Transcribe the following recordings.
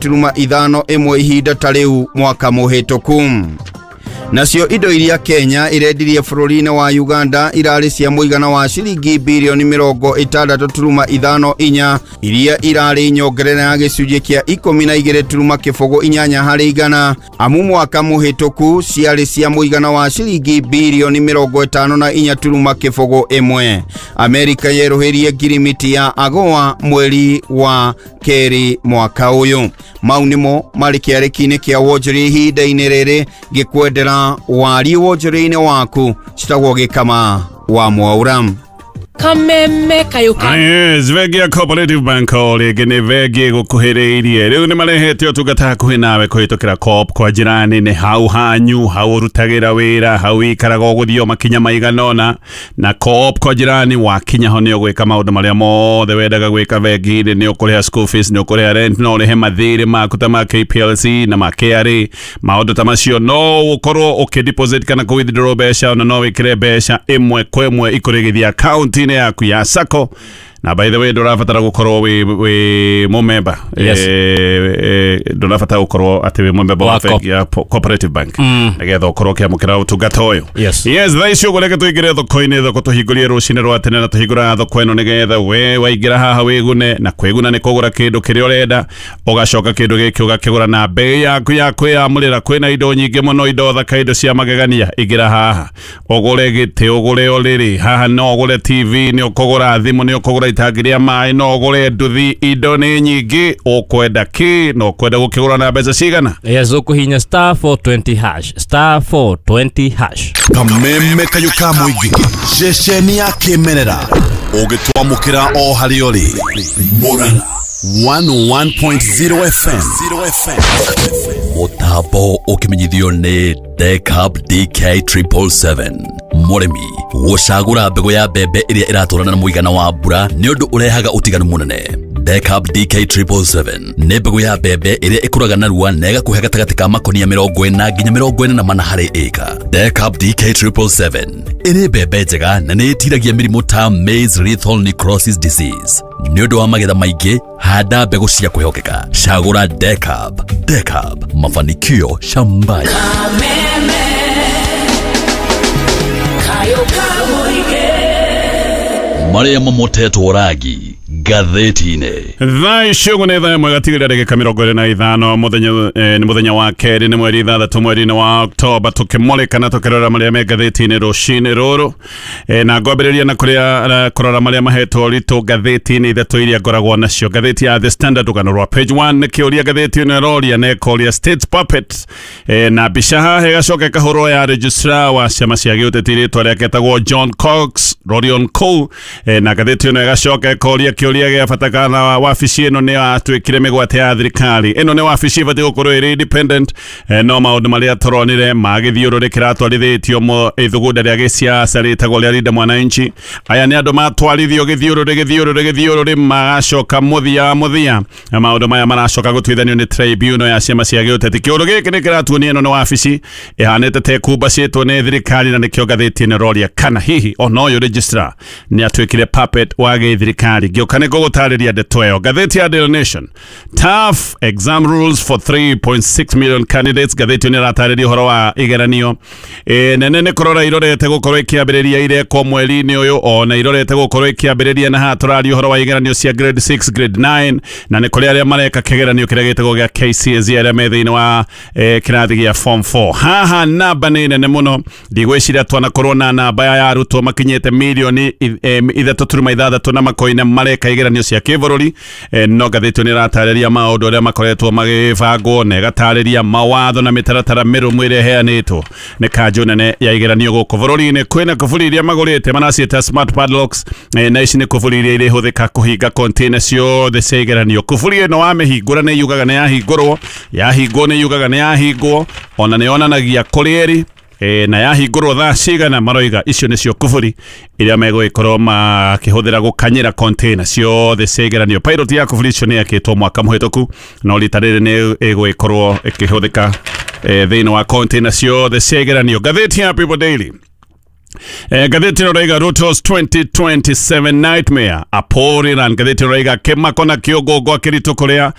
Turuma ithano ĩmwe ihinda ta rĩu mwaka mũhĩtũku. Nacio indo iria Kenya irendirie bũrũri-inĩ wa Uganda irarĩ cia mũigana wa ciringi birioni 60.54, iria irarĩ nyongerera ya gĩcunjĩ kĩa 12.08 harĩ igana, amu mwaka mũhĩtũku ciarĩ cia mũigana wa ciringi birioni 54.01. Amerika yerũhĩrie ngirimiti ya AGOA mweri wa kerĩ mwaka ũyũ. Mau nĩmo marĩ kĩarĩki-inĩ kĩa wonjoria ihinda-inĩ rĩrĩ, ngĩkwendera wariĩ wonjoria-inĩ waku. Citagwo Gĩkama wa Mwaura. Kameme kayuka. Yes, bengi ya Cooperative Bank o rĩngĩ nĩ bengi ĩgũkuhĩrĩirie. Rĩu nĩ marehete ũtungata hakuhĩ nawe kũhĩtũkĩra Co-op kwa njĩra nene, hau hanyu, hau ũrutagĩra wĩra, hau wĩikaraga, ũgũthiĩ o makinya maigana ũna. Na Co-op kwa jirani wakinya ho nĩ ũgwĩka maũndũ marĩa mothe wendaga gwĩka bengi-inĩ. Nĩ ũkũrĩha school fees, nĩ ũkũrĩha rent, no ũrĩhe mathirĩ maku ta ma KPLC na ma KRA, maũndũ ta macio. No ũkorwo ũkĩ deposit kana kũ withdraw mbeca, ona no wĩkĩre mbeca ĩmwe kwa ĩmwe ikũrĩgithia akaunti-inĩ yaku ya sacco. Na by the way, ndũrabatara gũkorwo wĩ mũmemba. Yes. Ndũrabatara gũkorwo atĩ wĩ mũmemba wa Wa bengi ya Cooperative Bank nĩgetha ũkorwo ũkĩamũkĩra ũtungata ũyũ. Yes. Yes, thaa ici ũguo reke tũingĩre thoko-inĩ. Thoko tũhingũrie rũcinĩ rwa tene, na tũhingũraga thoko ĩno nĩgetha we waingĩra haha wĩgune, na kwĩguna nĩ kũgũra kĩndũ kĩrĩa ũrenda, ũgacoka kĩndũ gĩkĩ ũgakĩgũra na mbei yaku ya kwĩyamũrĩra. Kwĩna indo nyingĩ mũno, indo thaka, indo cia magegania. Ingĩra haha ũgũre gĩtĩ, ũgũre ũrĩrĩ haha, no ũgũre TV, nĩ ũkũgũra thimũ, nĩ ũkũgũra itangi rĩa maĩ, no ũgũre nduthi. Indo nĩ nyingĩ. Ũkwenda kĩ na ũkwenda gũkĩgũra na mbeca cigana? Yes, ũkũhinya *420#, *420#. Kameme kayũ ka mũingĩ, ceceni ya kĩmerera ũgĩtwamũkĩra o harĩa ũrĩ. Murang'a 101.0 FM. Mũtambo ũkĩmenyithio nĩ Decab DK 777. Mũrĩmi gũcagũra mbegũ ya mbembe ĩrĩa ĩratwarana na mũigana wa mbura nĩ ũndũ ũrehaga ũtiganu mũnene. Decab DK 777 nĩ mbegũ ya mbembe ĩrĩa ĩkũraga narua na ĩgakũhe gatagatĩ ka makonia 40 nginya 44 harĩ ĩka. Decab DK 777 ĩrĩ mbembe njega na nĩ ĩtiragia mĩrimũ ta maize lethal necrosis disease. Nĩ ũndũ wa magetha maingĩ, handa mbegũ cia kwĩhokeka. Cagũra Decab. Decab, mafanikio shambani. Kameme kayuka mũingĩ. Marĩa mamotetwo rangi ngathĩti-inĩ. Thaa ici ũguo nĩ thaa 1 gatigĩrĩra ndagĩka 25. Mũthenya nĩ mũthenya wa kerĩ, nĩ mweri 6, mweri-inĩ wa Oktoba, tũkĩmũrĩka na tũkĩrora marĩa me ngathĩti-inĩ rũcinĩ rũrũ. Na ngwambĩrĩria na kũrĩa kũrora marĩa mahetwo ũritũ ngathĩti-inĩ ithatũ iria ngoragwo nacio. Ngathĩti ya The Standard, rũgano rwa page 1 nĩ kĩũria ngathĩti ĩno ĩroria, na ĩkoria "State puppet", na mbica haha ĩgacoka ĩkahũrwo ya registrar wa ciama cia gĩũteti, rĩtwa rĩake etagwo John Cox Rorion Cole. Na ngathĩti ĩno ĩgacoka ĩkoria kĩũria gĩa bata kana wabici ĩno nĩ yatuĩkire mĩgwate ya thirikari. Ĩno nĩ wabici ĩbatiĩ gũkorwo ĩrĩ independent, no maũndũ marĩa tũronire ma gĩthiũrũrĩ kĩratwarithĩtio ithugunda rĩa gĩsiasa rĩtagwo rĩa Linda Mwananchi. Aya nĩ andũ matwarithio gĩthiũrũrĩ, gĩthiũrũrĩ, gĩthiũrũrĩ, magacoka mũthia wa mũthia na maũndũ maya maracoka gũtuithanio nĩ tribunal ya ciama cia gĩũteti. Kĩũndũ gĩkĩ nĩ kĩratuonia ĩno nĩ wabici ĩhanĩte ta ĩkumbacĩtwo nĩ thirikari, na nĩkĩo ngathĩti ĩno ĩroria kana hihi ona ũyũ registrar nĩ atuĩkire puppet wa gĩthirikari. Ngĩũka nĩ ngũgũtarĩria ndeto ĩyo. Ngathĩti ya Daily Nation, "Tough exam rules for 3.6 million candidates". Ngathĩti ĩyo nĩ ĩratarĩria ũhoro wa igeranio nene nĩ kũrora irorete gũkorwo ikĩambĩrĩria, irekwo mweri-inĩ ũyũ, ona irorete gũkorwo ikĩambĩrĩria. Na haha tũraria ũhoro wa igeranio cia grade 6, grade 9, na nĩ kũrĩ arĩa mareka kĩgeranio kĩrĩa gĩtagwo gĩa KCSE, arĩa me thĩinĩ wa kĩrathi gĩa form 4. Haha namba nĩ nene mũno, ndigwĩciria twanakorwo na namba ya arutwo makinyĩte mirioni 3.6 na makoine mareka igeranio cia kĩbũrũri. No ngathĩti ĩyo nĩ ĩratarĩria maũndũ ũrĩa makoretwo magĩbangwo, na ĩgatarĩria mawatho na mĩtaratara mĩrũmu ĩrĩa ĩheanĩtwo nĩ kanjũ nene ya igeranio gũkũ bũrũri-inĩ. Kwĩna kuburi iria magũrĩte maraciĩta smart padlocks, na ici nĩ kuburi iria irĩhũthĩka kũhinga container ciothe cia igeranio. Kuburi ĩno wamĩhingũra nĩ yugaga nĩ yahingũrwo, yahingwo nĩ yugaga nĩ yahingwo, ona nĩ yonanagia kũrĩa ĩrĩ na yahingũrwo thaa cigana. Maroiga icio nĩcio kuburi iria megũgĩkorwo makĩhũthĩra gũkanyĩra container ciothe cia igeranio. Pilot ya kuburi icio nĩ yakĩtwo mwaka mũhĩtũku, no rita rĩrĩ nĩ ĩgũgĩkorwo ĩkĩhũthĩka thĩinĩ wa container ciothe cia igeranio. Ngathĩti ya People Daily. Ngathĩti ĩno raiga Ruto's 2027 nightmare aporiran. Ngathĩti ĩno raiga kĩmako na kĩũngũngwa kĩritũ kũrĩa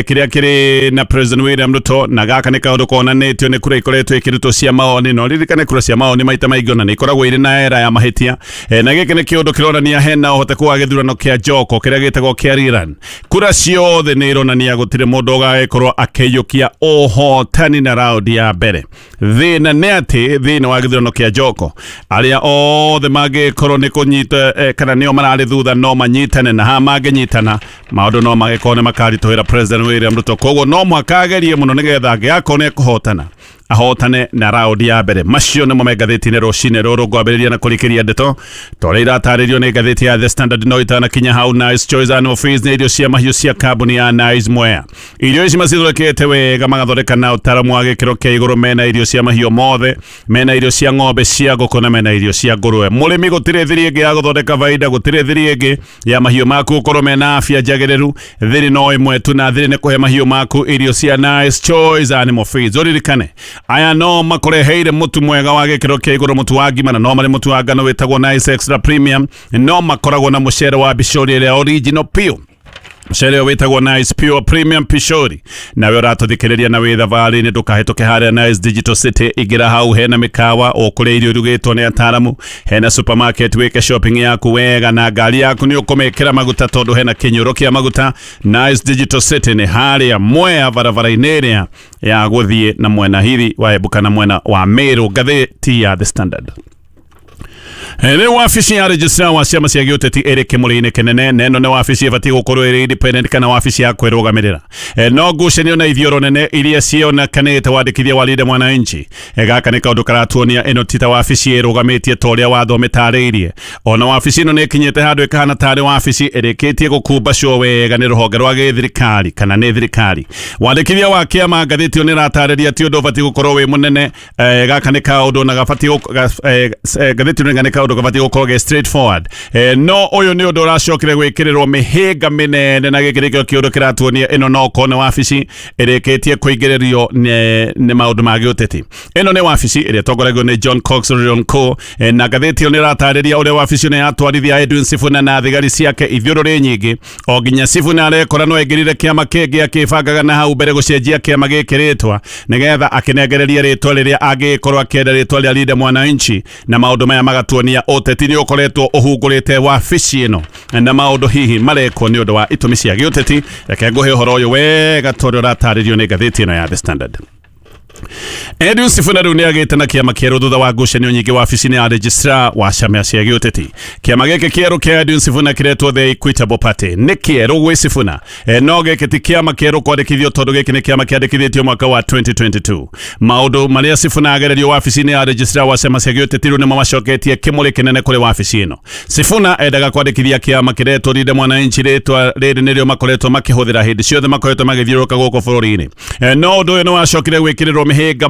kĩrĩa kĩrĩ na President William Ruto, na gaka nĩ kaũndũ konanĩtio nĩ kura ikoretwo ikĩrutwo cia maoni. No ririkane kura cia maoni maita maingĩ ona nĩ ikoragwo irĩ na era ya mahĩtia, na gĩkĩ nĩ kĩũndũ kĩronania hena ũhoteku wa gĩthurano kĩa Joko kĩrĩa gĩtagwo kĩa rerun. Kura ciothe nĩ ironania gũtirĩ mũndũ ũgagĩkorwo akĩiyũkia ũhotani na raundi ya mbere. Thĩna nĩ atĩ thĩinĩ wa gĩthurano kĩa Joko arĩa othe mangĩkorwo nĩ kũnyita kana nĩo mararĩ thutha no manyitane, na ha mangĩnyitana maũndũ no magĩkorwo nĩ makaritũhĩra President William Ruto. Koguo no mũhaka agerie mũno nĩgetha angĩgakorwo nĩ ekũhotana ahotane na raundi ya mbere. Macio nĩmo me ngathĩti-inĩ rũcinĩ rũrũ. Ngwambĩrĩria na kũrĩkĩria ndeto ta ũrĩa iratarĩrio nĩ ngathĩti ya The Standard. No itanakinya hau, Nice Choice Animal Feeds nĩ irio cia mahiũ cia kambuni ya Nice Mwea. Irio ici macithondekete wega, magathondeka na ũtaaramu wa gĩkĩro kĩa igũrũ. Mena irio cia mahiũ mothe, mena irio cia ng'ombe, cia ngũkũ na mena irio cia ngũrũwe. Mũrĩmi gũtirĩ thiri ĩngĩ ya gũthondeka baida, gũtirĩ thiri ĩngĩ ya mahiũ maku gũkorwo mena afya njagĩrĩru. Thiri no ĩmwe tu, na thiri nĩ kũhe mahiũ maku irio cia Nice Choice Animal Feeds. Ũririkane aya no makoreheire mũtu mwega wa gĩkĩro kĩa igũrũ, mũtu wa ngima, na no marĩ mũtu wa ngano wĩtagwo Nice Extra Premium. No makoragwo na mũcere wa bicori ĩrĩa original pure, mũcere ũyũ wĩtagwo Nice Pure Premium Pishori. Nawe ũratũthikĩrĩria na wĩ thabarĩ-inĩ, ndũkahĩtũke harĩa Nice Digital City. Ingĩra hau hena mĩkawa ũkũrĩa irio irugĩtwo nĩ ataaramu, hena supermarket wĩke shopping yaku wega, na ngari yaku nĩ ũkũmĩkĩra maguta tondũ hena kĩnyũro kĩa maguta. Nice Digital City nĩ harĩa Mwea barabara-inĩ ĩrĩa ya gũthiĩ na mwena hiri wa Embu kana mwena wa Meru. Ngathĩti ya The Standard. Rĩu wabici ya registrar wa ciama cia gĩũteti ĩrĩ kĩmũrĩ-inĩ kĩnene, na ĩno nĩ wabici ĩbatiĩ gũkorwo ĩrĩ independent kana wabici ya kwĩrũgamĩrĩra. No ngucanio na ithioro nene iria cionekanĩte wandĩkithia wa Linda Mwananchi. Gaka nĩ kaũndũ karatuonia ĩno ti ta wabici ĩrũgamĩtie ta ũrĩa watho mĩtarĩirie. Ona wabici ĩno nĩ ĩkinyĩte handũ ĩkahana tarĩ wabici ĩrĩkĩtie gũkumbacwo wega nĩ rũhonge rwa gĩthirikari kana nĩ thirikari. Wandĩkithia wa kĩama ngathĩti ĩyo nĩ ĩratarĩria ti ũndũ ũbatiĩ gũkorwo wĩ mũnene. Gaka nĩ kaũndũ na gabatiĩ ngathĩti ĩno nĩ kaũndũ gabatiĩ gũkorwo ge straightforward. No ũyũ nĩ ũndũ ũracokire gwĩkĩrĩrwo mĩhĩnga mĩnene, na gĩkĩ nĩkĩo kĩũndũ kĩratuonia ĩno no korwo nĩ wabici ĩrĩkĩtie kũingĩrĩrio nĩ maũndũ ma gĩũteti. Ĩno nĩ wabici ĩrĩa ĩtongoragio nĩ John Cox Ronco, na ngathĩti ĩyo nĩ ĩratarĩria ũrĩa wabici ĩno yatwarithia Edwin Sifuna na thigari ciake ithiũrũrĩ nyingĩ, o nginya Sifuna arekora no aingĩrire kĩama kĩngĩ akĩbangaga na hau mbere gũcenjia kĩama gĩkĩ rĩtwa nĩgetha akĩnengererie rĩtwa rĩrĩa angĩkorwo akĩenda, rĩtwa rĩa Linda Mwananchi. Na maũndũ maya magatuonia ũteti nĩ ũkoretwo ũhungũrĩte wabici ĩno, na maũndũ hihi marekwo nĩ ũndũ wa itũmi cia gĩũteti. Reke ngũhe ũhoro ũyũ wega tondũ ũratarĩrio nĩ ngathĩti ĩno ya The Standard. Edwin Sifuna rĩu nĩagĩte na kĩama kĩerũ thutha wa ngucanio nyingĩ wabici-inĩ ya registrar wa ciama cia gĩũteti. Kĩama gĩkĩ kĩerũ kĩa Edwin Sifuna kĩretwo The Equitable Party. Nĩ kĩerũ gwĩ Sifuna, no gĩkĩ ti kĩama kĩerũ kwandĩkithio tondũ gĩkĩ nĩ kĩama kĩandĩkithĩtio mwaka wa 2022. Maũndũ marĩa Sifuna agererio wabici-inĩ ya registrar wa ciama cia gĩũteti rĩu nĩmo macoketie kĩmũrĩ kĩnene kũrĩ wabici ĩno. Sifuna endaga kwandĩkithia kĩama kĩretwo Linda Mwananchi, rĩtwa rĩrĩ nĩrĩo makoretwo makĩhũthĩra hĩndĩ ciothe makoretwo magĩthiũrũrũka gũkũ bũrũri-inĩ. No ũndũ ũyũ nĩ wacokire gwĩkĩrĩrwo mĩhĩnga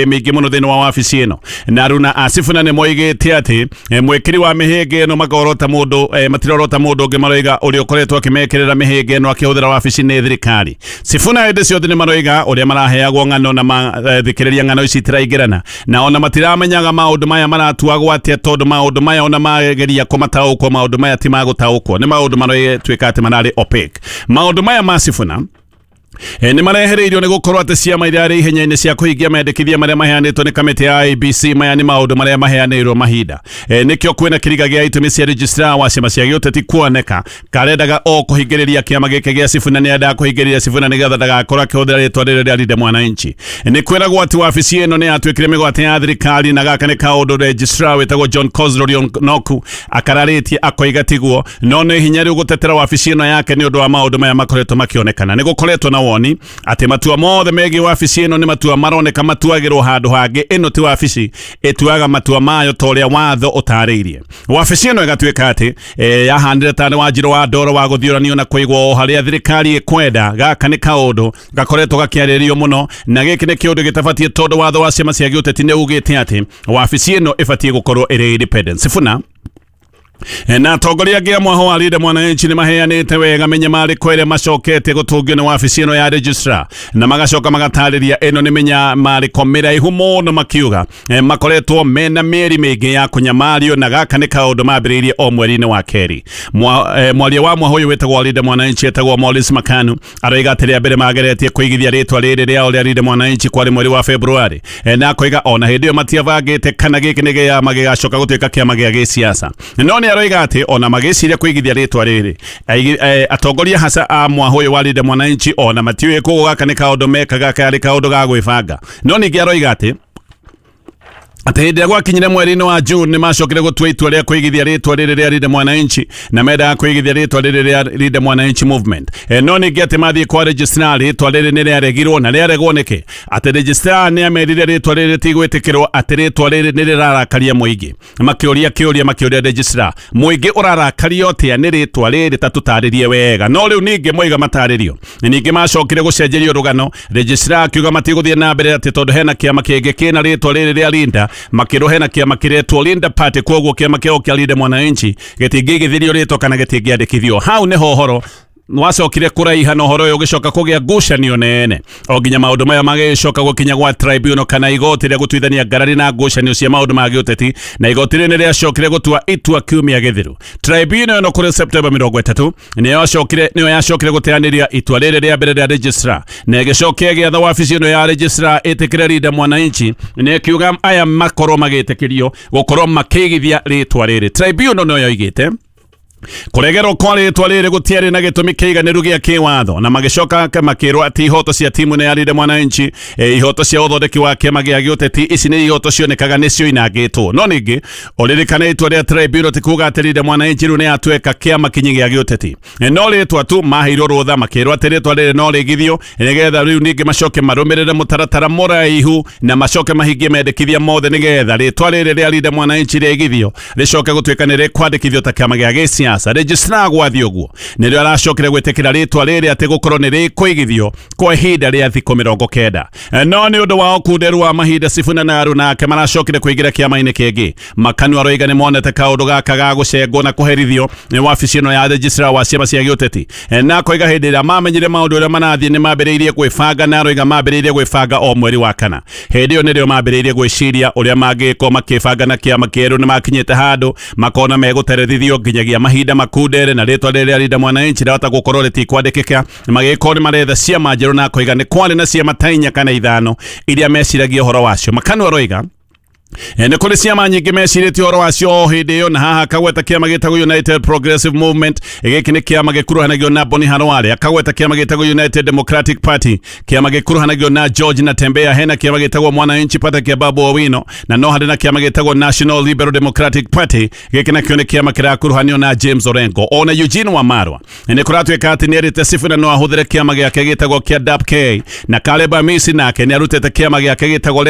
mĩingĩ mũno thĩinĩ wa wabici ĩno, na aruna a Sifuna nĩ moigĩte atĩ mwĩkĩri wa mĩhĩnga ĩno makorota mũndũ, matirorota mũndũ ũngĩ, maroiga ũrĩa ũkoretwo akĩmekĩrĩra mĩhĩnga ĩno akĩhũthĩra wabici nĩ thirikari. Sifuna hĩndĩ ciothe nĩ maroiga ũrĩa maraheagwo ng'ano na mathikĩrĩria ng'ano ici itiraingĩrana, na ona matiramenyaga maũndũ maya maratuagwo atĩa, tondũ maũndũ maya ona mageria kũmataũkwo maũndũ maya ti magũtaũkwo, nĩ maũndũ maratuĩka atĩ mararĩ opaque. Maũndũ maya ma Sifuna nĩ marehereirio nĩ gũkorwo atĩ ciama iria arĩ ihenya-inĩ cia kũhingia mendekithia marĩa maheanĩtwo nĩ kamĩtĩ ya IEBC. Maya nĩ maũndũ marĩa maheanĩirwo mahinda, nĩkĩo kwĩna kĩriga gĩa itũmi cia registrar wa ciama cia gĩũteti kuoneka karendaga o kũhingĩrĩria kĩama gĩkĩ gĩa Sifuna, nĩ endaga kũhingĩrĩria Sifuna nĩgetha ndagakorwo akĩhũthĩra rĩtwa rĩrĩ rĩa Linda Mwananchi. Nĩ kwĩragwo atĩ wabici ĩno nĩ yatuĩkire mĩgwate ya thirikari, na gaka nĩ kaũndũ registrar wĩtagwo John Cosroy Noku akararĩtie akoiga tiguo, no nĩ hinya rĩu gũtetera wabici ĩno yake nĩ ũndũ wa maũndũ maya makoretwo makĩonekana. Nĩ gũkoretwo na woni atĩ matua mothe megiĩ wabici ĩno nĩ matua maroneka matuagĩrwo handũ hangĩ. Ĩno ti wabici ĩtuaga matua mayo ta ũrĩa watho ũtarĩirie. Wabici ĩno ĩgatuĩka atĩ yahanire tarĩ wanjirũ wa ndoro wa gũthiũranio na kũigwo o harĩa thirikari ĩkwenda. Gaka nĩ kaũndũ gakoretwo gakĩarĩrio mũno, na gĩkĩ nĩ kĩũndũ gĩtabatiĩ tondũ watho wa ciama cia gĩũteti nĩ ugĩte atĩ wabici ĩno ĩbatiĩ gũkorwo ĩrĩ independent. Sifuna Na atongoria angĩ a mwaho wa Linda Mwananchi nĩ maheanĩte wega mĩnyamarĩko ĩrĩa macokete gũtũngio nĩ wabici ĩno ya registrar, na magacoka magatarĩria ĩno nĩ mĩnyamarĩko mĩraihu mũno, makiuga makoretwo mena mĩeri mĩingĩ ya kũnyamario, na gaka nĩ kaũndũ mambĩrĩirie o mweri-inĩ wa kerĩ. Mwaria wa mwaho ũyũ wĩtagwo Linda Mwananchi etagwo Maurice Makanu aroiga atĩ rĩa mbere mageretie kũigithia rĩtwa rĩrĩ rĩao rĩa Linda Mwananchi kwarĩ mweri wa February, na akoiga ona hĩndĩ ĩyo matiabangĩte kana gĩkĩ nĩ kĩama gĩgacoka gũtuĩka kĩama gĩa gĩsiasa. No nĩ aroiga atĩ ona magĩciria kũigithia rĩtwa rĩrĩ, atongoria hasa a mwaho ũyũ wa Linda Mwananchi ona matiũĩ koguo gaka nĩ kaũndũ mekaga karĩ kaũndũ ga gwĩbanga. No ningĩ aroiga atĩ hĩndĩ ĩrĩa gwakinyire mweri-inĩ wa June nĩ macokire gũtua itua rĩa kũigithia rĩtwa rĩrĩ rĩa Linda Mwananchi, na mendaga kũigithia rĩtwa rĩrĩ rĩa Linda Mwananchi Movement. No ningĩ atĩ mathiĩ kwa registrar rĩtwa rĩrĩ nĩ rĩaregirwo, na rĩaregwo nĩkĩ? Atĩ registrar nĩ amerire rĩtwa rĩrĩ rĩtigwĩtĩkĩrwo, atĩ rĩtwa rĩrĩ nĩ rĩrarakaria mũingĩ. Makĩũria kĩũria, makĩũria registrar, mũingĩ ũrarakario atĩa nĩ rĩtwa rĩrĩ, ta tũtarĩrie wega. No rĩu ningĩ moiga matarĩrio, ningĩ macokire gũcenjerio rũgano, registrar akiuga matigũthiĩ na mbere atĩ tondũ hena kĩama kĩngĩ kĩna rĩtwa rĩrĩ rĩa Linda, makĩrwo hena kĩama kĩretwo Linda Party, koguo kĩama kĩao kĩa Linda Mwananchi gĩtingĩigithirio rĩtwa kana gĩtingĩandĩkithio. Hau nĩho ũhoro wacokire kũraiha, na ũhoro ũyũ ũgĩcoka kũgĩa ngucanio nene o nginya maũndũ maya magĩcoka gũkinya gwa tribunal kana igoti rĩa gũtuithania ngarari na ngucanio cia maũndũ ma gĩũteti, na igoti rĩrĩ nĩ rĩacokire gũtua itua kiumia gĩthiru. Tribunal ĩno kũrĩ September 30 nĩyo yacokire gũteanĩria itua rĩrĩ rĩa mbere rĩa registrar, na ĩgĩcokia gĩatha wabici ĩno ya registrar ĩtĩkĩre Linda Mwananchi, na ĩkiuga aya makorwo magĩtĩkĩrio gũkorwo makĩigithia rĩtwa rĩrĩ. Tribunal nĩyo yoigĩte kũregerwo kwa rĩtwa rĩrĩ gũtiarĩ na gĩtũmi kĩiganĩru gĩa kĩwatho, na magĩcoka makĩrwo atĩ ihoto cia timu nĩ ya Linda Mwananchi, ihoto cia ũthondeki wa kĩama gĩa gĩũteti ici nĩ ihoto cionekaga nĩcio inangĩtwo. No ningĩ ũririkane itua rĩa tribunal ti kuga atĩ Linda Mwananchi rĩu nĩ yatuĩka kĩama kinyi gĩa gĩũteti, no rĩtwa tu maheirwo rũtha, makĩrwo atĩ rĩtwa rĩrĩ no rĩigithio nĩgetha rĩu ningĩ macoke marũmĩrĩre mũtaratara mũraihu na macoke mahingie mendekithia mothe nĩgetha rĩtwa rĩrĩ rĩa Linda Mwananchi rĩigithio rĩcoke gũtuĩka nĩ rĩkwandĩkithio ta kĩama gĩa gĩsiasa. Registrar gwathiĩ ũguo nĩrĩo aracokire gwĩtĩkĩra rĩtwa rĩrĩ atĩ gũkorwo nĩ rĩkũigithio kwa ihinda rĩa thikũ 90. No nĩ ũndũ wa ũkunderu wa mahinda, Sifuna na Aruna nake maracokire kũingĩra kĩama-inĩ kĩngĩ. Makanu aroiga nĩ monete kaũndũ gaka ga gũcengwo na kũherithio nĩ wabici ĩno ya registrar wa ciama cia gĩũteti, na akoiga hĩndĩ ĩrĩa mamenyire maũndũ ũrĩa marathiĩ nĩ mambĩrĩirie gwĩbanga, na aroiga mambĩrĩirie gwĩbanga o mweri wa kana. Hĩndĩ ĩyo nĩrĩo mambĩrĩirie gwĩciria ũrĩa mangĩkorwo makĩbanga na kĩama kĩerũ. Nĩ makinyĩte handũ makona megũterethithio nginyagia mahinda makundere, na rĩtwa rĩrĩa Linda Mwananchi rĩahota gũkorwo rĩtikwandĩkĩka, magĩkorwo nĩ maretha ciama njerũ, na akoiga nĩ kwarĩ na ciama ta 4 kana 5 iria meciragia ũhoro wacio. Makanu aroiga nĩ kũrĩ ciama nyingĩ mecirĩtie ũhoro wacio o hĩndĩ ĩyo, na haha akagweta kĩama gĩtagwo United Progressive Movement, gĩkĩ nĩ kĩama gĩkuruhanagio na Boni Harware, akagweta kĩama gĩtagwo United Democratic Party, kĩama gĩkuruhanagio na George Natembeya, hena kĩama gĩtagwo Mwananchi Party kĩa Babu Owino, na no harĩ na kĩama gĩtagwo National Liberal Democratic Party, gĩkĩ nakĩo nĩ kĩama kĩrakuruhanio na James Orengo. Ona Eugene Wamalwa nĩ kũratuĩka atĩ nĩerĩte Sifuna no ahũthĩre kĩama gĩake gĩtagwo kĩa DAP-K, na Caleb Amisi nake nĩarutĩte kĩama gĩake gĩtagwo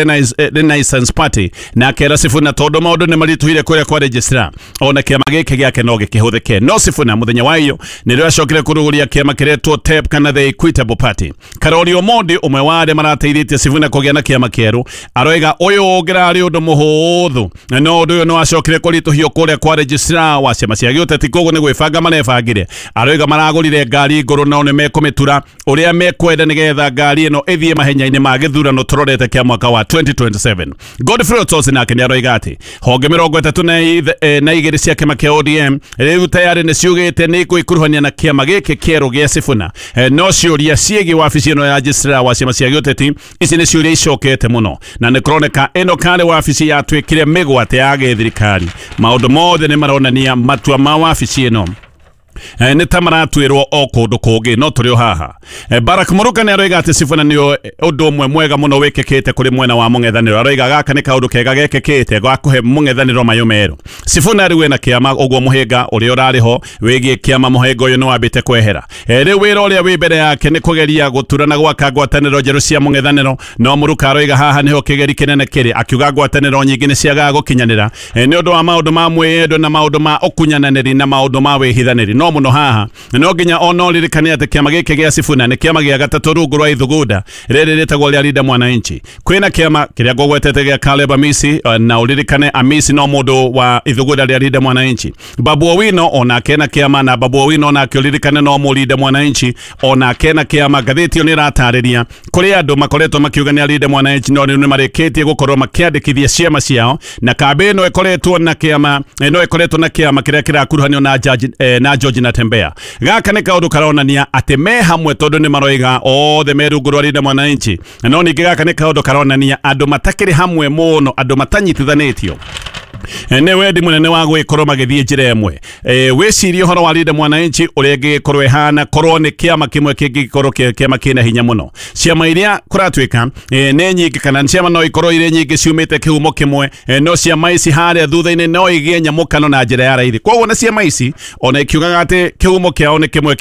Renaissance Party, na akera Sifuna tondũ maũndũ nĩ maritũhire kũrĩa kwa registrar ona kĩama gĩkĩ gĩake no gĩkĩhũthĩke. No Sifuna mũthenya wa iyo nĩrĩo acokire kũrugũria kĩama kĩretwo TEP kana The Equitable Party. Karori Omondi ũmwe wa arĩa marateithĩtie Sifuna kũgĩa na kĩama kĩerũ aroiga ũyũ ũngĩrarĩ ũndũ mũhũthũ, no ũndũ ũyũ no acokire kũritũhio kũrĩa kwa registrar wa ciama cia gĩũteti, koguo nĩ gwĩbanga marebangire. Aroiga maragũrire ngari ngũrũ nao nĩ mekũmĩtura ũrĩa mekwenda nĩgetha ngari ĩno ĩthiĩ mahenya-inĩ ma gĩthurano tũrorete kĩa mwaka wa 2027. Godfrey Otosi nake nĩ aroiga atĩ honge 32 cia kĩama kĩa ODM rĩu tayarĩ nĩ ciugĩte nĩ igũikuruhania na kĩama gĩkĩ kĩerũ gĩa Sifuna. No ciũria ciĩgiĩ wabici ĩno ya registrar wa ciama cia gĩũteti ici nĩ ciũria icokete mũno, na nĩ kũroneka ĩno karĩ wabici yatuĩkire mĩgwate ya gĩthirikari. Maũndũ mothe nĩ maronania matua ma wabici ĩno nĩ ta maratwĩrwo o kũndũ kũngĩ, no tũrĩ o haha. Barack Muruka nĩ aroiga atĩ Sifuna nĩ ũndũ ũmwe mwega mũno wĩkĩkĩte kũrĩ mwena wa mũng'ethanĩro. Aroiga gaka nĩ kaũndũ kega gekĩkĩte ga kũhe mũng'ethanĩro mayũ merũ. Sifuna rĩu ena kĩama ũguo mũhĩnga ũrĩa ũrarĩ ho wĩgiĩ kĩama mũhĩnga ũyũ nĩ wambĩte kwehera. Rĩu wĩra ũrĩa wĩ mbere yake nĩ kũgeria gũtura na gwaka ngwatanĩro njerũ cia mũng'ethanĩro, no Muruka aroiga haha nĩho kĩgeri kĩnene kĩrĩ, akiuga ngwatanĩro nyingĩ nĩ ciagaga gũkinyanĩra nĩ ũndũ wa maũndũ ma mwĩyendo na maũndũ ma ũkunyananĩri na maũndũ ma wĩhithanĩri. No No muno haha no nginya ona ũririkane atĩ kĩama gĩkĩ gĩa Sifuna nĩ kĩama gĩa gatatũ rungu rwa Ithugunda rĩrĩ rĩtagwo rĩa Linda Mwananchi. Kwĩna kĩama kĩrĩa ngũgwetete gĩa Caleb Amisi, na ũririkane Amisi no mũndũ wa Ithugunda rĩa Linda Mwananchi. Babu Owino onake na kĩama, na Babu Owino onake ũririkane no mũlinda Mwananchi onake na kĩama. Ngathĩti ĩyo nĩ ĩratarĩria kũrĩ andũ makoretwo makiuga nĩ Linda Mwananchi no nĩ marĩkĩtie gũkorwo makĩandĩkithia ciama ciao, na kambĩ ĩno ĩkoretwo na kĩama ĩno ĩkoretwo na kĩama kĩrĩa kĩrakuruhanio na judge, na George Natembeya. Gaka nĩ kaũndũ karonania atĩ me hamwe tondũ nĩ maroiga othe me rungu rwa Linda Mwananchi. No ningĩ gaka nĩ kaũndũ karonania andũ matakĩrĩ hamwe mũno, andũ matanyitithanĩtio nĩ wendi mũnene wa gwĩkorwo magĩthiĩ njĩra ĩmwe. Wĩcirie ũhoro wa Linda Mwananchi ũrĩa ĩngĩgĩkorwo ĩhana korwo nĩ kĩama kĩmwe kĩngĩgĩkorwo kĩama kĩna hinya mũno. Ciama iria kũratuĩka nĩ nyingĩ, kana ciama no ikorwo irĩ nyingĩ ciumĩte kĩhumo kĩmwe, no ciama ici harĩa thutha-inĩ no igĩe nyamũkano na njĩra ya raithi. Koguo na ciama ici ona ikiugaga atĩ kĩhumo kĩao nĩ kĩmwe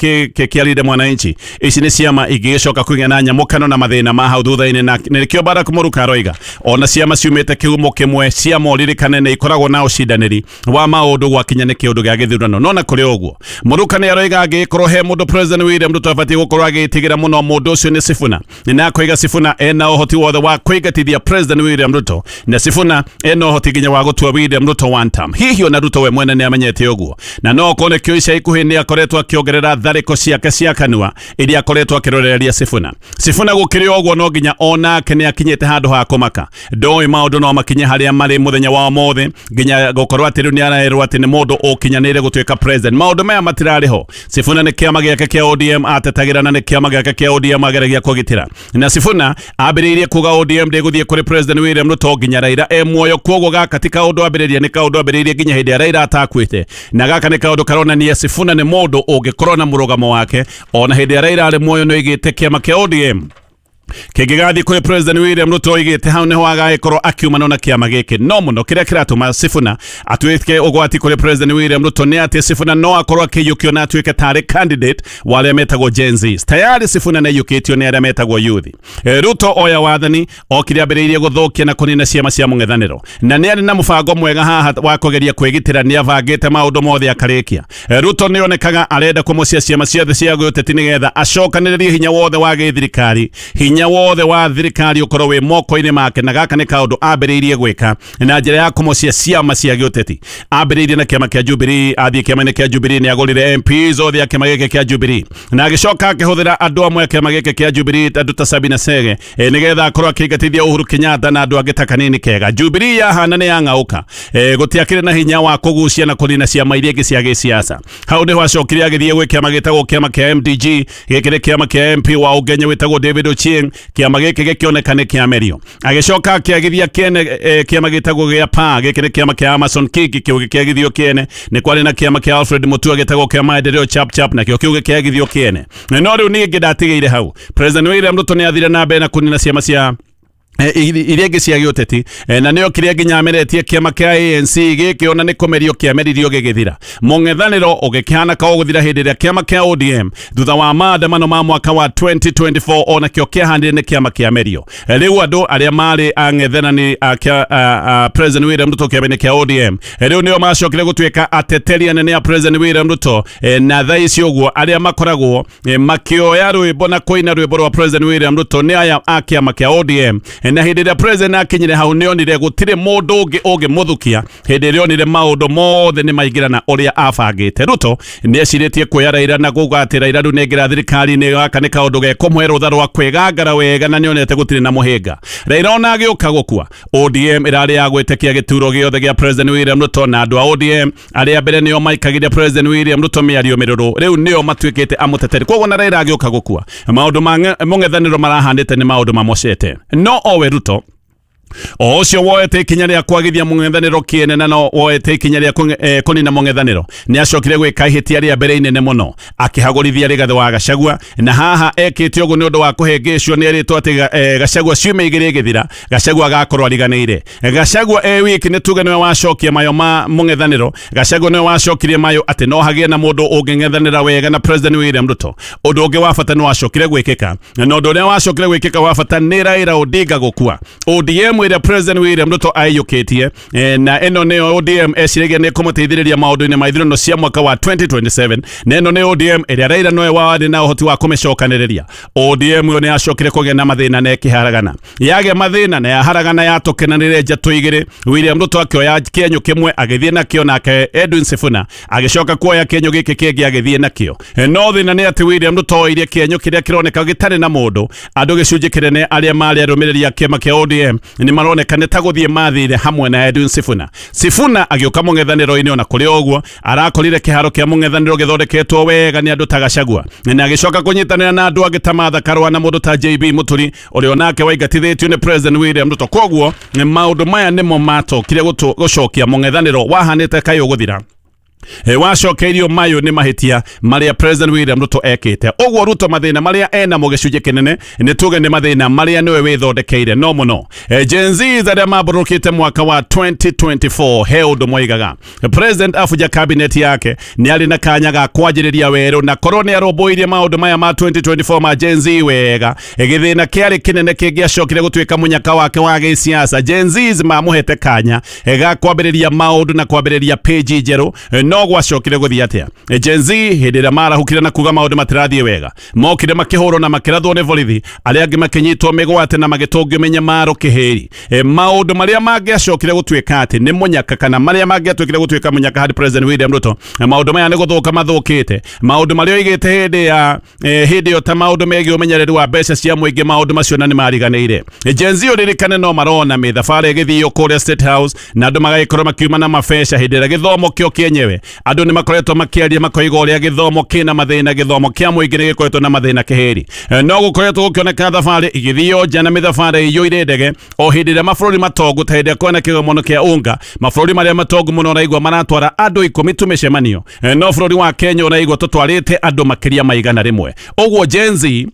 kĩa Linda Mwananchi, ici nĩ ciama ingĩgĩcoka kũgĩa na nyamũkano na mathĩna ma hau thutha-inĩ, na nĩkĩo Barack Mũruka aroiga ona ciama ciumĩte kĩhumo kĩmwe ciama ũririkane nĩ ikoragwo na ũcindanĩri wa maũndũ gwakinya nĩ kĩũndũ gĩa gĩthurano. No na kũrĩ ũguo Mũruka nĩ aroiga angĩkorwo he mũndũ President William Ruto abatiĩ gũkorwo agĩtigĩra mũno mũndũ ũcio nĩ Sifuna, na akoiga Sifuna ena ũhoti wothe wa kũingatithia President William Ruto, na Sifuna ena ũhoti nginya wa gũtua William Ruto one term. Hihi ona Ruto we mwene nĩ amenyete ũguo, na no okorwo nĩkĩo ica ikuhĩ nĩ akoretwo akĩongerera tharĩko ciake cia kanua iria akoretwo akĩroreria Sifuna. Sifuna gũkĩrĩ ũguo no nginya onake nĩ akinyĩte handũ ha kũmaka, ndoĩ maũndũ no makinye harĩa marĩ mũthenya wa ũmũthĩ nginya gũkorwo atĩ rĩu nĩ arerwo atĩ nĩ mũndũ ũkinyanĩire gũtuĩka president. Maũndũ maya matirarĩ ho. Sifuna nĩ kĩama gĩake kĩa ODM atetagĩra, na nĩ kĩama gĩake kĩa ODM ageragia kũgitĩra, na Sifuna ambĩrĩirie kuga ODM ndĩgũthiĩ kũrĩ President William Ruto nginya Raila e muoyo. Koguo gaka ti kaũndũ ambĩrĩria, nĩ kaũndũ ambĩrĩirie nginya hĩndĩ ya Raila atakuĩte, na gaka nĩ kaũndũ karonania Sifuna nĩ mũndũ ũngĩkorwo na mũrũgamo wake ona hĩndĩ ya Raila arĩ muoyo. Nĩ oigĩte kĩama kĩa ODM kĩngĩgathiĩ kũrĩ President William Ruto oigĩte hau nĩho agagĩkorwo akiumana na kĩama gĩkĩ. No mũno kĩrĩa kĩratũma Sifuna atuĩke ũgwati kũrĩ President William Ruto nĩ atĩ Sifuna no akorwo akĩiyũkio na atuĩke tarĩ candidate wa arĩa metagwo Gen Z. Tayari Sifuna nĩ aiyũkĩtio nĩ arĩa metagwo youth. Ruto oya wathani okire ambĩrĩirie gũthũkia na kũnina ciama cia mũng'ethanĩro, na nĩ arĩ na mũbango mwega haha wa kũgeria kwĩgitĩra, nĩ abangĩte maũndũ mothe akarĩkia. Ruto nĩ onekaga arenda kũmocia ciama ciothe cia gĩũteti nĩgetha acokanĩrĩrie hinya wothe wa gĩthirikari, hinya wothe wa thirikari ũkorwo wĩ moko-inĩ make, na gaka nĩ kaũndũ ambĩrĩirie gwĩka na njĩra ya kũmocia ciama cia gĩũteti. Ambĩrĩirie na kĩama kĩa Jubilee, athiĩ kĩama-inĩ kĩa Jubilee nĩ agũrire MPs othe a kĩama gĩkĩ kĩa Jubilee, na agĩcoka akĩhũthĩra andũ amwe a kĩama gĩkĩ kĩa Jubilee, andũ ta Sabina Sege, nĩgetha akorwo akĩingatithia Uhuru Kenyatta na andũ angĩ ta Kanini Kega. Jubilee yahana nĩ yang'aũka, gũtiakĩrĩ na hinya wa kũgucia na kũnina ciama iria ingĩ cia gĩsiasa. Hau nĩho acokire agĩthiĩ gwĩ kĩama gĩtagwo kĩama kĩa MDG, gĩkĩ nĩ kĩama kĩa MP wa Ũgenya wĩtagwo David Ochieng. Kĩama gĩkĩ gĩkĩoneka nĩ kĩamerio. Agĩcoka akĩagithia kĩene kĩama gĩtagwo gĩa PA, gĩkĩ nĩ kĩama kĩa Amason Kingi, kĩu gĩkĩagithio kĩene. Nĩ kwarĩ na kĩama kĩa Alfred Mutua gĩtagwo kĩa Maendeleo Chap Chap, nakĩo kĩu gĩkĩagithio kĩene. No rĩu niĩ ndatigĩire hau. President William Ruto nĩ athire na mbere na kũnina ciama cia iria ingĩ cia gĩũteti, na nĩo kĩrĩa nginya ameretie kĩama kĩa ANC gĩkĩ ona nĩ kũmerio kĩameririo gĩgĩthira. Mũng'ethanĩro ũgĩkĩhana ka ũgũthira hĩndĩ ĩrĩa kĩama kĩa ODM thutha wa maandamano ma mwaka wa 2024 ona kĩo kĩahandire nĩ kĩama kĩamerio. Rĩu andũ arĩa marĩ ang'ethanani a President William Ruto kĩama-inĩ kĩa ODM rĩu nĩo macokire gũtuĩka ateteri anene a President William Ruto, na thaa ici ũguo arĩa makoragwo makĩoya rwĩmbo na kũina rwĩmbo rwa President William Ruto nĩ aya a kĩama kĩa ODM. Na hĩndĩ ĩrĩa president akinyire hau nĩ onire gũtirĩ mũndũ ũngĩ ũngĩmũthukia, hĩndĩ ĩrĩa onire maũndũ mothe nĩ maingĩrana ũrĩa abangĩte. Ruto nĩ ecirĩtie kuoya Raila na kuga atĩ Raila rĩu nĩaingĩra thirikari-inĩ, gaka nĩ kaũndũ gekũmũhe rũtha rwa kwĩgangara wega, na nĩonete gũtirĩ na mũhĩnga. Raila ona agĩũka gũkua, ODM ĩrarĩ ya gwĩtĩkia gĩturo gĩothe gĩa President William Ruto, na andũ a ODM arĩa mbere nĩo maikagĩria President William Ruto mĩario mĩrũrũ rĩu nĩo matuĩkĩte amũteteri. Koguo na Raila agĩũka gũkua, maũndũ ma mũng'ethanĩro marahanĩte nĩ maũndũ mamocete. No owe Ruto o ũcio woete ikinya rĩa kwagithia mũng'ethanĩro kĩene, na no woete ikinya rĩa kũnina mũng'ethanĩro, nĩ acokire gwĩka ihĩtia rĩa mbere inene mũno akĩhagũrithia Rigathĩ wa Gachagua, na haha ekĩte ũguo nĩ ũndũ wa kũhĩngĩcwo nĩ erĩtwo atĩ Gachagua ciumia igĩrĩ ĩgĩthira Gachagua agakorwo ariganĩire. Gachagua e wiki nĩ tuge nĩwe wacokia mayo ma mũng'ethanĩro, Gachagua nĩwe wacokirie mayo atĩ no hagĩe na mũndũ ũngĩng'ethanĩra wega na President William Ruto. Ũndũ ũngĩ wa bata nĩ wacokire gwĩkĩka, na ũndũ ũrĩa wacokire gwĩkĩka wa bata nĩ Raila Odinga gũkua. ODM ĩrĩa President William Ruto aiyũkĩtie, na ĩno nĩyo ODM eciragia nĩ kũmũteithĩrĩria maũndũ-inĩ ma ithurano cia mwaka wa 2027, na ĩno nĩ ODM ĩrĩa Raila nowe warĩ na ũhoti wa kũmĩcokanĩrĩria. ODM ĩyo nĩ yacokire kũgĩa na mathĩna na ĩkĩharagana, yagĩa mathĩna na yaharagana yatũkenanĩre njatũ igĩrĩ. William Ruto akĩoya kĩenyũ kĩmwe agĩthiĩ nakĩo, nake Edwin Sifuna agĩcoka kuoya kĩenyũ gĩkĩ kĩngĩ agĩthiĩ nakĩo. No thĩna nĩ atĩ William Ruto oire kĩenyũ kĩrĩa kĩroneka gĩtarĩ na mũndũ. Andũ gĩcunjĩ kĩnene arĩa marĩ arũmĩrĩri a kĩama kĩa ODM nĩ maroneka nĩ ta gũthiĩ mathire hamwe na Edwin Sifuna. Sifuna agĩũka mũng'ethanĩro-inĩ, ona kũrĩ ũguo arakorire kĩharo kĩa mũng'ethanĩro gĩthondeketwo wega nĩ andũ ta Gachagua, na agĩcoka kũnyitanĩra na andũ angĩ ta Martha Karua na mũndũ ta JB Muturi ũrĩa onake waingatithĩtio nĩ President William Ruto. Koguo maũndũ maya nĩmo matokire gũcokia mũng'ethanĩro wahanĩte kaĩ ũgũthira, wacokeirio mayo nĩ mahĩtia marĩa President William Ruto ekĩte. Ũguo Ruto mathĩna marĩa enamo gĩcunjĩ kĩnene nĩ tuge nĩ mathĩna marĩa nĩwe wĩthondekeire no mũno. Gen Z arĩa mambũrũkĩte mwaka wa 2024 he ũndũ moigaga President abuja cabinet yake nĩ arĩ na kanya ga kwanjĩrĩria werũ, na korwo nĩ arũmbũirie maũndũ maya ma 2024 ma Gen Z wega, gĩthĩna kĩarĩ kĩnene kĩngĩacokire gũtuĩka mũnyaka wake wa gĩsiasa. Gen Z mamũhete kanya ga kwambĩrĩria maũndũ na kwambĩrĩria page njerũ, no gwacokire gũthiĩ atĩa? Gen Z hĩndĩ ĩrĩa marahukire na kuga maũndũ matirathiĩ wega, mokire makĩhũrwo na makĩrathwo nĩ borithi, arĩa angĩ makĩnyitwo mĩgwate na magĩtũngio mĩnyamaro kĩhĩri. Maũndũ marĩa mangĩacokire gũtuĩka atĩ nĩ mũnyaka, kana marĩa mangĩatuĩkire gũtuĩka mũnyaka harĩ President William Ruto, maũndũ maya nĩ gũthũka mathũkĩte. Maũndũ marĩa oigĩte hĩndĩ ya hĩndĩ ĩyo ta maũndũ megiĩ ũmenyereri wa mbeca cia mũingĩ, maũndũ macio na nĩ mariganĩire. Gen Z ũririkane no marona mĩthabarĩ ĩgĩthio kũrĩa State House na andũ magagĩkorwo makiuma na mabeca hĩndĩ ĩrĩa gĩthomo kĩo kĩenyewe andũ nĩ makoretwo makĩaria makoiga ũrĩa gĩthomo kĩna mathĩna, gĩthomo kĩa mũingĩ nĩ gĩkoretwo na mathĩna kĩhĩri. No gũkoretwo gũkĩoneka thabarĩ igĩthio nja na mĩthabarĩ ĩiyũire ndege o hĩndĩ ĩrĩa mabũrũri matongu ta hĩndĩ ĩrĩa kwĩna kĩgomano kĩa UNGA, mabũrũri marĩa matongu mũno ũraigua maratwara andũ 10 tu mĩcemanio, no bũrũri wa Kenya ũraigua tũtwarĩte andũ makĩria ma 100. Ũguo Gen Z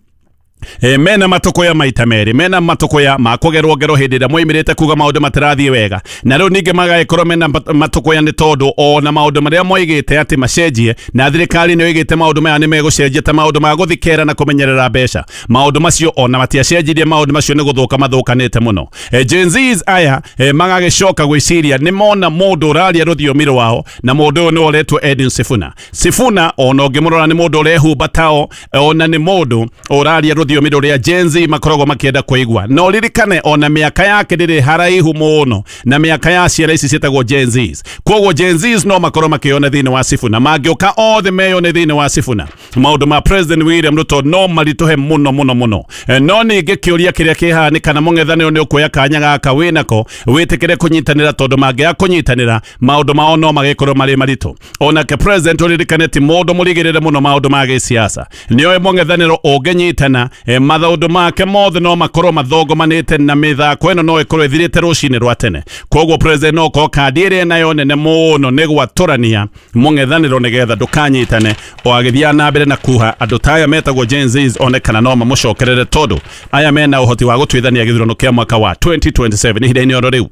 mena matukuya maita merĩ, mena matukuya ma kũgerwo ngero hĩndĩ ĩrĩa moimĩrĩte kuga maũndũ matirathiĩ wega, na rĩu ningĩ magagĩkorwo mena matukuya nĩ tondũ ona maũndũ marĩa moigĩte atĩ macenjie, na thirikari nĩ oigĩte maũndũ maya nĩ megũcenjia ta maũndũ ma gũthikera na kũmenyerera mbeca, maũndũ macio ona matiacenjirie, maũndũ macio nĩ gũthũka mathũkanĩte mũno. Gen Zs aya magagĩcoka gwĩciria nĩ mona mũndũ ũraria rũthiomi rwao, na mũndũ ũyũ nĩ ũretwo Edwin Sifuna. Sifuna ona ũngĩmũrora nĩ mũndũ ũrehumba tao, ona nĩ mũndũ ũraria rũthiomi rũrĩa Gen Z makoragwo makĩenda kũigua. No ririkane ona mĩaka yake ndĩrĩ haraihu mũno na mĩaka ya ciana ici ciĩtagwo Gen Zs. Koguo Gen Zs no makorwo makĩona thĩinĩ wa Sifuna, mangĩũka othe meyone thĩinĩ wa Sifuna, maũndũ ma President William Ruto no maritũhe mũno mũno mũno. No ningĩ kĩũria kĩrĩa kĩhaha nĩ kana mũng'ethanĩro nĩ ũkuoya kanya gaka wĩnako wĩtĩkĩre kũnyitanĩra, tondũ mangĩaga kũnyitanĩra maũndũ mao no magĩkorwo marĩ maritũ. Onake President ũririkane ti mũndũ mũrigĩrĩre mũno maũndũ ma gĩsiasa, nĩoĩ mũng'ethanĩro ũngĩnyitana maũndũ make mothe no makorwo mathongomanĩte na mĩthako ĩno no ĩkorwo ĩthirĩte rũcinĩ rwa tene. Koguo President no korwo kandi ĩrĩa nayo nene mũno nĩ gwatũrania mũng'ethanĩro nĩgetha ndũkanyitane o agĩthiaga na mbere na kuha andũ ta aya metagwo Gen Zs onekana no mamũcokerere, tondũ aya mena ũhoti wa gũtuithania gĩthurano kĩa mwaka wa 2027 ihinda-inĩ oro rĩu.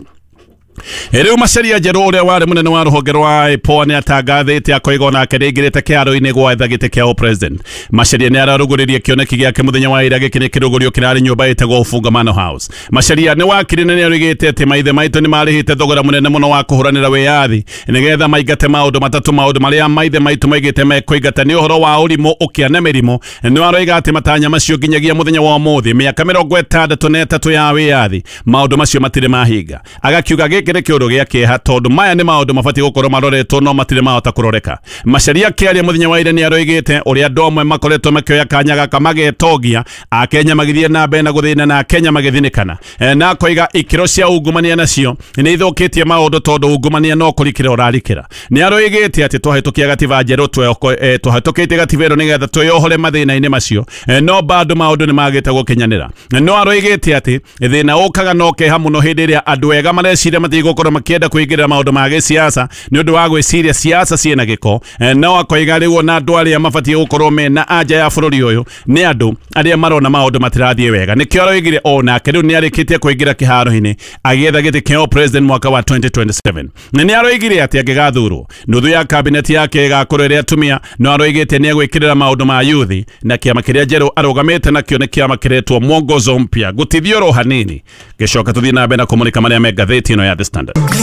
Rĩu Macharia Njerũ ũrĩa warĩ mũnene wa rũhonge rwa IPOA nĩ atangathĩte akoiga onake nĩaingĩrĩte kĩharo-inĩ gwetha gĩtĩ kĩa president. Macharia nĩ ararugũririe kĩoneki gĩake mũthenya wa ira, gĩkĩ nĩ kĩrũgũrio kĩrarĩ nyũmba ĩtagwo Ufungamano House. Macharia nĩ wakiri na nĩoigĩte atĩ maithe maitũ nĩ marĩhĩte thogora mũnene mũno wa kũhũranĩra wĩyathi nĩgetha maingate maũndũ matatũ, maũndũ marĩa maithe maitũ maigĩte mekũingata nĩ ũhoro wa ũrimũ, ũkĩa na mĩrimũ. Nĩ aroiga atĩ matanya macio nginyagia mũthenya wa ũmũthĩ mĩaka 63 ya wĩyathi maũndũ macio matirĩ mahinga. Agakiuga gĩkĩ nĩ kĩũndũ gĩa kĩeha tondũ maya nĩ maũndũ mabatiĩ gũkorwo maroretwo no matirĩ mahota kũroreka. Macharia akĩaria mũthenya wa ira nĩ aroigĩte ũrĩa andũ amwe makoretwo makĩoya kanya gaka magetongia, Akenya magĩthiĩ na mbere na gũthĩna na Akenya magĩthinĩkana, na akoiga ikĩro cia ungumania nacio nĩ ithũkĩtie maũndũ tondũ ungumania no kũrikĩra ũrarikĩra. Nĩ aroigĩte atĩ twahĩtũkia gatiba njerũ, twahĩtũkĩtie gatiba ĩno nĩgetha twĩyohore mathĩna-inĩ macio, no bado maũndũ nĩ magĩte gũkinyanĩra. No aroigĩte atĩ thĩna ũkaga no keha mũno hĩndĩ ĩrĩa andũ ega mareciria matigũ gũkorwo makĩenda kũingĩrĩra maũndũ ma gĩsiasa nĩ ũndũ wa gwĩciria siasa ciĩna gĩko. No akoiga rĩu ona andũ arĩa mabatiĩ gũkorwo mena anja ya bũrũri ũyũ nĩ andũ arĩa marona maũndũ matirathiĩ wega. Nĩkĩo aroigire onake rĩu nĩ arĩkĩtie kũingĩra kĩharo-inĩ agĩetha gĩtĩ kĩa president mwaka wa 2027. Na nĩ aroigire atĩ angĩgathurwo nuthu ya kabineti yake ĩgakorwo ĩrĩ atumia, no aroigĩte nĩ egwĩkĩrĩra maũndũ ma yuthi na kĩama kĩrĩa njerũ arũgamĩte nakĩo nĩ kĩama kĩretwo Mwongozo Mpya. Gũtithio oro hanini, gĩcoka tũthiĩ na mbere na kũmũrĩka marĩa me ngathĩti ĩno ya The Standard.